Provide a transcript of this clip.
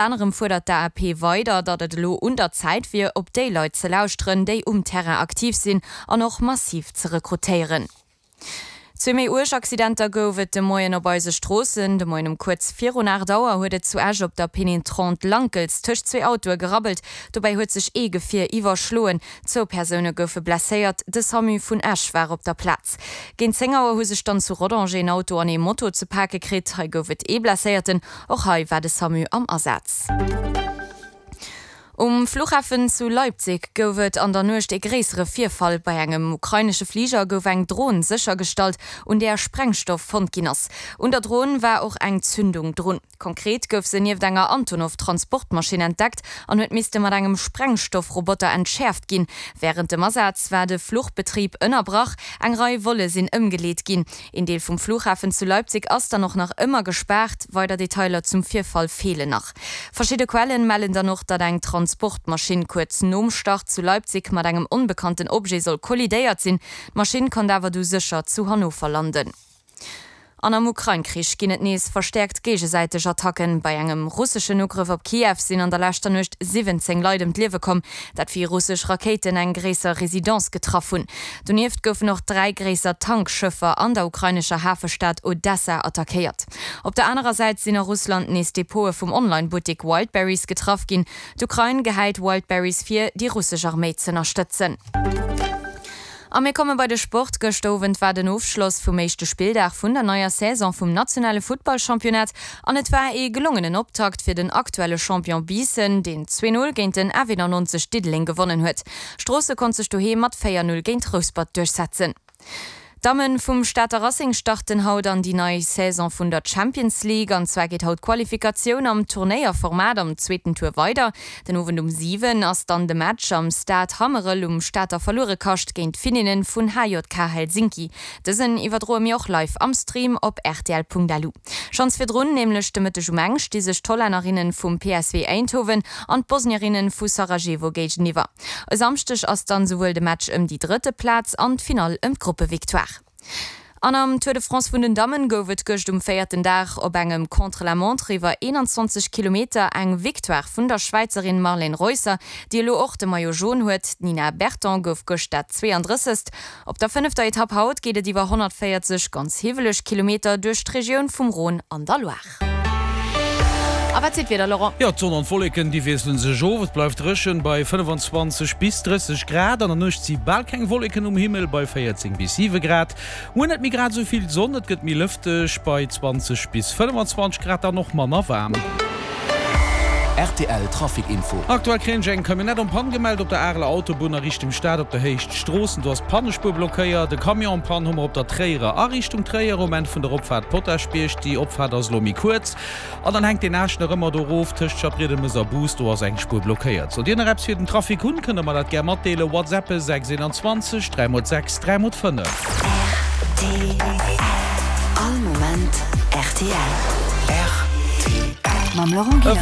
Anerem fuerdert d'AAP weider, datt et elo un der Zäit wier, op déi Leit ze lauschteren, déi um Terrain aktiv sinn an och massiv ze rekrutéieren. Zwee méi uerg Accidenter gouf et de Moien op eise Stroossen. De Moien um kuerz virun 8 Auer huet et zu Esch op der Pénétrante Lankels tëscht zwee Autoe gerabbelt. Dobäi huet sech ee Gefier iwwerschloen. Zwou Persoune goufe blesséiert. De Samu vun Esch war op der Plaz. Géint 10 Auer hu sech dann zu Rodange een Auto an ee Moto ze pake kritt. Hei gouf et ee Blesséierten. Och hei war de Samu am Asaz. Um Fluchhafen zu Leipzig gouf et an der Nuecht ee gréissere Virfall. Bei engem ukrainesche Fliger gouf eng Dron séchergestallt, un där Sprengstoff fonnt ginn ass. Un der Dron war och eng Zündung drun. Konkret gouf se nieft enger Antonov-Transportmaschinn entdeckt an huet misste mat engem Sprengstoffroboter entschäerft ginn. Wärend dem Asaz war de Fluchbetrib ënnerbrach, eng Rei Volle sinn ëmgeleet ginn. Een Deel vum Flughafen zu Leipzig ass dann och nach ëmmer gespaart. Weider Detailer zum Virfall feelen nach. Verschidde Quellen mellen dann och, datt eng Transportmaschinn kuerz nom Start zu Leipzig mat engem onbekannten Objet soll kollidéiert sinn. D'Maschinn konnt awer du sécher zu Hannover landen. An am Ukrain-Krich ginn et nees verstäerkt géigesäiteg Attacken. Bei engem russeschen Ugrëff op Kiew sinn an der leschter Nuecht 17 Leit ëm d'Liewe komm. Dat wéi russesch Rakéiten eng gréisser Residence getraff hunn. Donieft goufen och 3 gréisser Tankschëffer an der ukrainescher Hafestad Odessa attackéiert. Op der anerer Säit sinn a Russland nees Depote vum Online-Buttek Wildberries getraff ginn. D'Ukrain gehäit Wildberries vir, déi russesch Arméi z'ënnerstëtzen. A mir komme bei de Sport. Gëschter Owend war den Ofschloss vum éischte Spilldag vun der neier Saison vum nationale Futtballchampionnat an et war ee gelongenen Optakt fir den aktuelle Champion Biissen, deen 2, 0 géint den F91 Diddeleng gewonnen huet. Stroosse konnt sech doheem mat 4, 0 géint Rouspert duerchsetzen. D'Damme vum Stater Racing starten haut an déi nei Saison vun der Champions League. An zwar geet haut d'Qualifikatioun am Turnéierformat am zweeten Tour weider. Den Owend um 7 ass dann de Match am Stade Hammerel um Stater Verluerekascht géint d'Finninnen vun HJK Helsinki. Dësen iwwerdroe mir och live am Stream op rtl.lu. Schonns virdrun, nämlech de Mëtteg um eng, sti sech d'Hollännerinnen vum PSV Eindhoven an d'Bosnierinnen vu Sarajevo géigeniwwer. E Samschdeg ass dann souwuel de Match ëm déi drëtte Plaz an d'Finall ëm d'Gruppevictoire. An am Tour de France vun den Dammen gouf et gëscht um véierten Dag op engem Contre-la-montre iwwer 21 Kilometer eng Victoire vun der Schwäizerin Marlene Reusser, déi elo och de Maillot jaune huet. D'Nina Berton gouf gëscht dat 32. Op der fënnefter Etapp haut geet et iwwer 140 ganz hiwweleg Kilometer duerch d'Regioun vum Rhône an der Loire. A wat seet d'Wieder, Laurent? Jo, d'Sonn an d'Wolleken, déi wiessele sech of. Et bleift dréchen bei 25 bis 30 Grad. An der Nuecht si bal keng Wolleken um Himmel bei 14 bis 7 Grad. Muer net méi grad esou vill Sonn, et gëtt méi lëfteg bei 20 bis 25 Grad an och manner waarm. Rtl Trafic Info. Aktuell kréien ech eng Camionnette en panne gemellt op der Areler Autobunn a Richtung Stad op der Héicht Stroossen. Do ass d'Pannespuer blockéiert. E Camion en panne hu mer op der Tréierer a Richtung Tréier um Enn vun der Opfaart Potaschbierg. Déi Opfaart ass elo méi kuerz. An dann hänkt deen Aascht nach ëmmer do erof tëscht Schapriedemes a Bous. Do ass eng Spuer blockéiert. Sollt Dir nach eppes fir den Trafic hunn, kënnt der mer dat gär matdeelen. Whatsappe 6 21 3 mol 6 3 mol 5. Rtl. All Moment rtl. Rtl. Mam Laurent E Gillander.